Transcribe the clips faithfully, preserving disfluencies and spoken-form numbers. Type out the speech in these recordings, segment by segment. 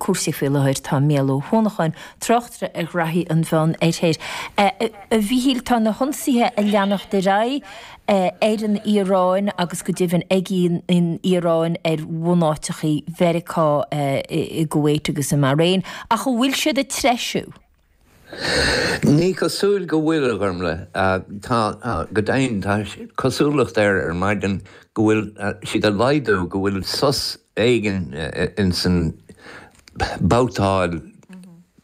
cúrsaí faoi láthair tá Mícheál Ó hUanacháin, tráchtaire ar ghraithí an Mheán Oirthir. A Mhíchíl, tá na hionsaithe ag leanacht ar aghaidh ar an Iaráin agus go deimhin ag an Iaráin ar bhunáiteachaí Mheiriceá i gCuwait agus i mBahrain, ach an bhfuil siad ag treisiú? Ní cosúil go bhfuil, a Ghormlaith. Tá, go deimhin, tá cosúlacht air ar maidin go bhfuil siad ag laghdú, go bhfuil sos éigin ins an babhtáil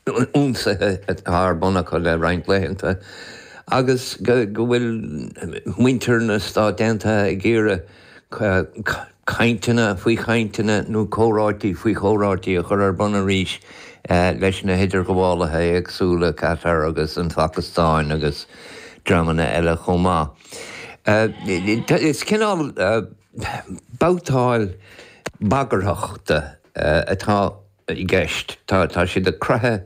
ionsaithe atá ar bun acu le roinnt laethanta agus go bhfuil muintir na Stát Aontaithe ag iarraidh cainteanna faoi chainteanna nó comhráití faoi chomhráití a chur ar bun arís leis na hidirghabhálaithe éagsúla, Qatar agus an Phacastáin agus dreamanna eile chomh maith. Is cineál babhtáil bagarthachta atá i gceist. Tá siad ag croitheadh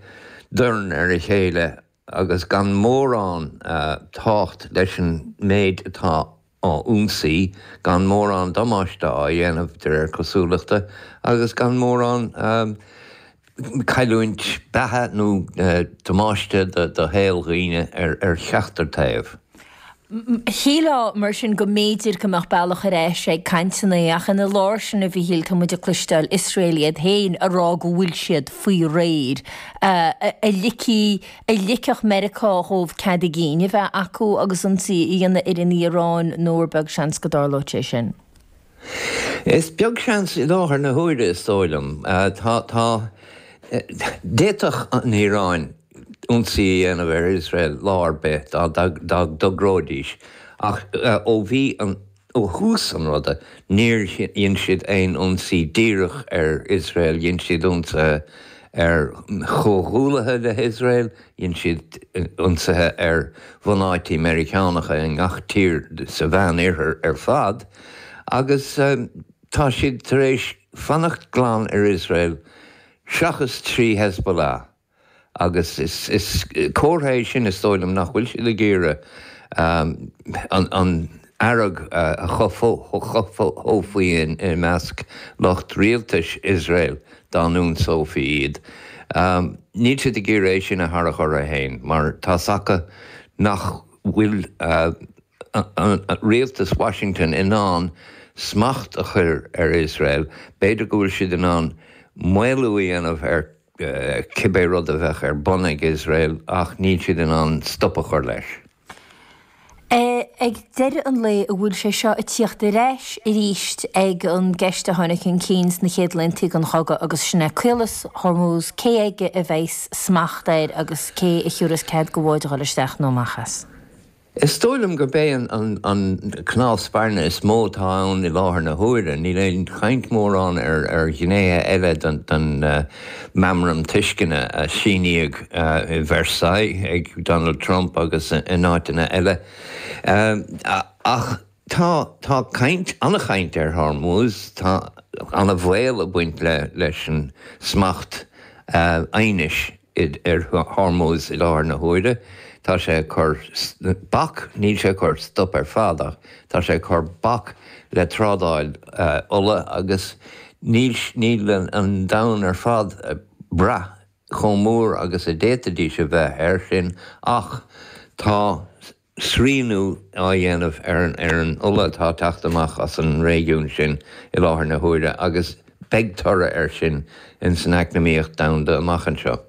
dorn ar a chéile agus gan mórán tábhacht leis an méid atá á ionsaí, gan mórán damáiste á dhéanamh de réir cosúlachta, agus gan mórán cailliúint beatha nó damáiste do shaol dhaoine ar cheachtar taobh. Shílfeá, mar sin, go mb'fhéidir go mbeadh bealach ar ais ag cainteanna, ach ina lár sin, a Mhíchíl, tá muid ag cloisteáil Iosrael iad féin ag rá go bhfuil siad faoi réir. A ligfidh, a ligfeadh Meiriceá dhóibh cead a gcinn a bheith acu agus ionsaí a dhéanamh ar an Iaráin nó ar beag seans go dtarlódh sé sin? Is beag seans i láthair na huaire, is dóigh liom. Tá, tá, d'fhéadfadh an Iaráin ionsaí a dhéanamh ar Iosrael lá ar bith dá dtogróidís, ach ó bhí an, ó thús an ruda, níor dhein siad aon ionsaí díreach ar Iosrael, dhein siad ionsaithe ar chomhghuallaithe le hIosrael, dhein siad ionsaithe ar bhunáití Meiriceánacha i ngach tír sa Mheánoirthear ar fad, agus tá siad tar éis fanacht glan ar Iosrael seachas trí Hezbollah. Agus is comhartha é sin, is dóigh liom, nach bhfuil siad ag iarraidh an fhearg a chothófaí i measc lucht rialtais Iosrael dá n-ionsófaí iad. Níl siad ag iarraidh é sin a tharrac orthu féin, mar tá's acu nach bhfuil rialtas Washington in ann smacht a chur ar Iosrael. B'fhéidir go bhfuil siad in ann maolú a dhéanamh ar cibé rud a bheadh ar bun ag Iosrael ach níl siad in ann stop a chur leis. Ag deireadh an lae, an bhfuil sé seo ag tíocht ar ais arís ag an gceist a tháinig chun cinn sna chéad laethanta den chogadh agus sin é Caolas Hormuz, cé aige a bheas smacht air agus cé a thiúrfas cead do bháid a dhul isteach nó amach as? Is dóigh liom gurb é an cnámh spairne is mó atá ann i láthair na huaire. Níl aon chaint mórán ar ghnéithe eile den Meamram Tuisceana a síníodh i Versailles ag Donald Trump agus in áiteanna eile. Ach tá tá caint, an-chaint ar Hormuz, tá an-bhaol ag baint leis an smacht aighnis. ar Hormuz i láthair na huaire. Tá sé ag cur bac, níl sé ag cur stop ar fad ach tá sé ag cur bac le trádáil ola agus níl níl an domhan ar fad ag brath chomh mór agus a d'fhéadfaidís a bheith air sin ach tá srianú á dhéanamh ar an ola atá ag teacht amach as an réigiún sin i láthair na huaire agus beidh toradh air sin ins an eacnamaíocht domhanda amach anseo.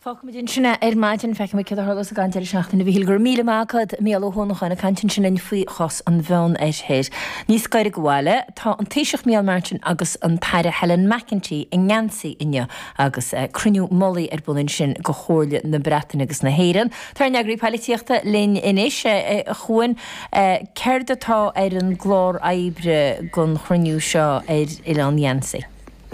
Fágfaimid ansin é ar maidin. Feicfimid céard a tharlós ag an deireadh seachtaine. A Mhíchíl, go raibh míle maith agat. Mícheál Ó hUanacháin ag caint ansin linn faoi chás an Mheánoirthir. Níos gaire do bhaile, tá an Taoiseach Micheál Martin agus an tAire Helen McEntee i nGeansaí inniu agus cruinniú mullaigh ar bun ansin do Chomhairle na Breataine agus na hÉireann. Tá ár n-eagraí poilitíochta linn anois, a Chuain. Céard atá ar an gclár oibre don chruinniú seo ar Oileán Gheansaí?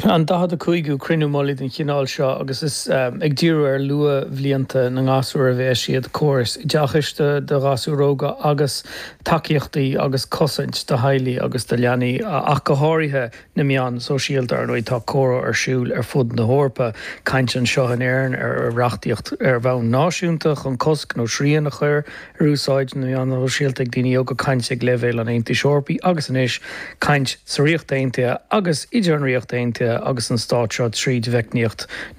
An daichead a cúigiú cruinniú mullaigh den chineál seo agus is ag díriú ar luathbhlianta na ngasúr a bheas siad, córas oideachais do ghasúir óga agus tacaíochtaí agus cosaint do theaghlaigh agus do leanaí ach go háirithe. na meáin shóisialta, ar ndóigh, tá comhrá ar siúl ar fud na hEorpa, caint anseo in Éirinn ar reachtaíocht ar bhonn náisiúnta chun cosc nó srian a chur ar úsáid na meán sóisialta ag daoine óga, caint ag leibhéal an Aontais Eorpaigh agus anois caint sa Ríocht Aontaithe agus idir an Ríocht Aontaithe agus an stát seo tríd mheicníocht